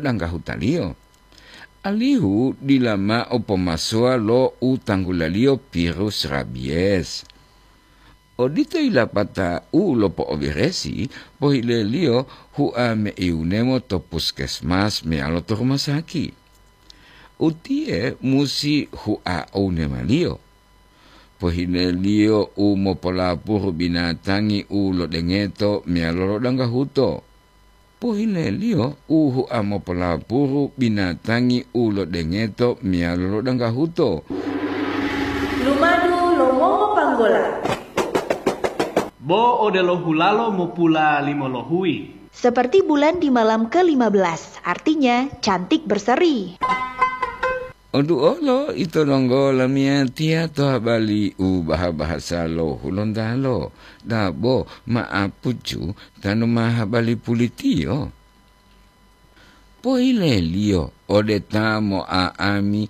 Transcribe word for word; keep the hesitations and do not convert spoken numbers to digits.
danggahutaliyo, alihu dila mao pomasuwa lo u tanggulaliyo virus rabies. Odito yilapata u lopo'oberesi, pohileliyo hua meiwunemo to puskesmas meyalo to rumah sakit. Utiye musi hua ounemaliyo. Pohileliyo u mopolapuru binatangi u lodengeto meyalo lodanggahuto. Pohileliyo u hua mopolapuru binatangi u lodengeto meyalo lodanggahuto. Lumadu lo mongopanggola. Bo odelo hulalo mopula limolohuyi. Seperti bulan di malam ke lima belas, artinya cantik berseri. Oduolo ito donggo lamiyatiya to habali u baha-bahasa lo Hulontalo, dabo ma'apucu tanu ma habali pulitiyo. Pohileliyo ode ta mo'a'ami